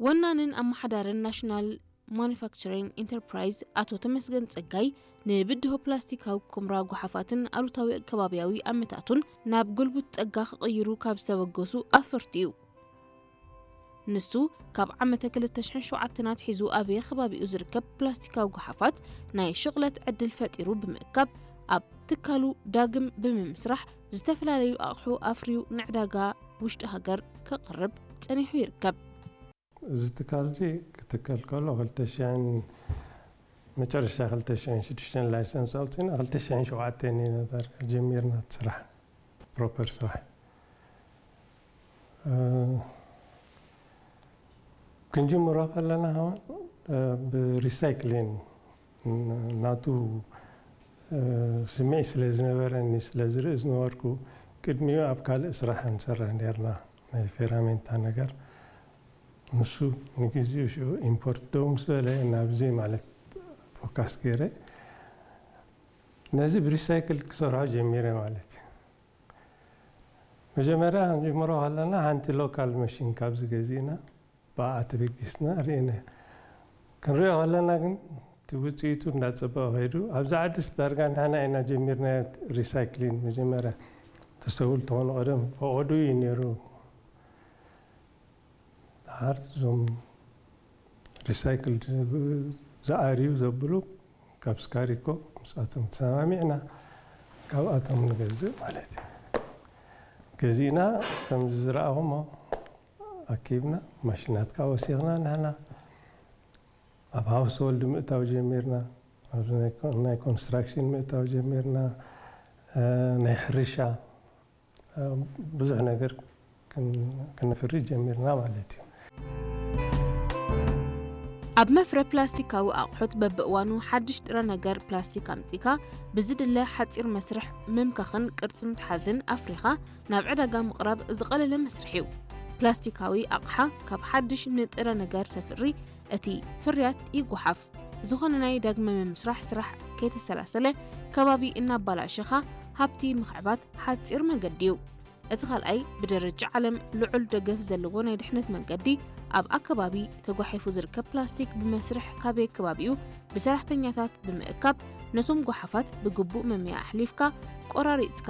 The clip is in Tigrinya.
ወናንን ኣመሓዳርን ናሽናል ማኑፋክቸሪንግ ኢንተርፕራይዝ ኣቶ ተመስገን ጸጋይ፣ ንብድሆ ፕላስቲካዊ ኩምራ ጓሓፋትን ኣሉታዊ ከባብያዊ ኣመታቱን ናብ ጉልቡት ጸጋ ክቕይሩ ካብ ዝተበገሱ ኣፈርቲ እዩ። ንሱ፣ ካብ ዓመተ ክልተ ሽሕን ሸውዓተን ኣትሒዙ ኣብ ከባቢኡ ዝርከብ ፕላስቲካዊ ጓሓፋት ናይ ሽቕለት ዕድል ፈጢሩ ብምእካብ፣ ኣብ ትካሉ ዳግም ብምምስራሕ ዝተፈላለዩ ኣቕሑ ኣፍርዩ ንዕዳጋ ውሽጢ ሃገር ከቕርብ ጸኒሑ ይርከብ። እዚ ትካል እዚ ክትከል ከሎ ክልተ ሽሕን፣ መጨረሻ ክልተ ሽሕን ሽዱሽተን ላይሰንስ ኣውፂና፣ ክልተ ሽሕን ሸውዓተን ኢና ዳርጋ ጀሚርና እቲ ስራሕ፣ ፕሮፐር ስራሕ። እ፣ ክንጅምሮ ከለና ከማን፣ እ፣ ብሪሳይክሊን ናቱ፣ እ፣ ስምዒት ስለ ዝነበረኒ፣ ስለ ዝርኢ ዝነበርኩ፣ ቅድሚኡ ኣብ ካልእ ስራሕ ንሰርሕ ነርና፣ ናይ ፌራሜንታ ነገር። ንሱ ንግዜኡ ሽዑ ኢምፖርት ደው ምስ በለ፣ ናብዚ ማለት ፎካስ ገይረ፣ ነዚ ብሪሳይክል ክሰርሖ ጀሚረ ማለት እዩ። መጀመርያ ክንጅምሮ ከለና፣ ሓንቲ ሎካል መሽን ካብዚ ገዚእና፣ ብኣ ተበጊስና ርኢና። ክንሪኦ ከለና ግን፣ እቲ ውፅኢቱ እንዳፀበቐ ከይዱ፣ ኣብዛ ዓድስ ዳርጋ ንሕና ኢና ጀሚርናዮ ሪሳይክሊን። መጀመርያ ተስተውዕሉ ተኾኑ፣ ቀደም ፈቐዶ እዩ ነይሩ። ደሓር እዞም ሪሳይክል ዝኣርዩ ዘብሉ፣ ካብ ስካሪኮ ምስኣቶም ተሰማሚዕና፣ ካብኣቶም ንገዝእ ማለት እዩ። ገዚእና፣ ከምዚ ዝረኣኹሞ ኣኪብና፣ ማሽናት ከዓ ወሲኽና፣ ንሕና ኣብ ሃውስሆልድ ምእታው ጀሚርና፣ ኣብ ናይ ኮ-፣ ናይ ኮንስትራክሽን ምእታው ጀሚርና፣ እ፣ ናይ ሕርሻ፣ እ፣ ብዙሕ ነገር ክን-፣ ክነፍሪ ጀሚርና ማለት እዩ። ኣብ መፍረ ፕላስቲካዊ ኣቑሑት በብእዋኑ ሓድሽ ጥረ ነገር ፕላስቲክ ኣምጺካ ብዝድለ ሓጺር መስርሕ ምምካኽን ቅርጺ ምትሓዝን ኣፍሪኻ ናብ ዕዳጋ ምቕራብ ዝቐለለ መስርሕ እዩ። ፕላስቲካዊ ኣቕሓ ካብ ሓድሽ ንጥረ ነገር ተፍሪ፣ እቲ ፍርያት ይጓሓፍ። ዝኾነ ናይ ዳግመ ምምስራሕ ስራሕ ከይተሰላሰለ፣ ከባቢ እናባላሸኻ ሃብቲ ምኽዕባት ሓጺር መገዲ እዩ። እቲ ካልኣይ፣ ብደረጃ ዓለም ልዑል ደገፍ ዘለዎ ናይ ድሕነት መንገዲ፣ ኣብ ኣከባቢ ተጓሒፉ ዝርከብ ፕላስቲክ ብመስርሕ ካበየ ከባቢኡ ብሰራሕተኛታት ብምእካብ፣ ነቶም ጓሓፋት ብግቡእ መምያ ኣሕሊፍካ ቆራሪጽካ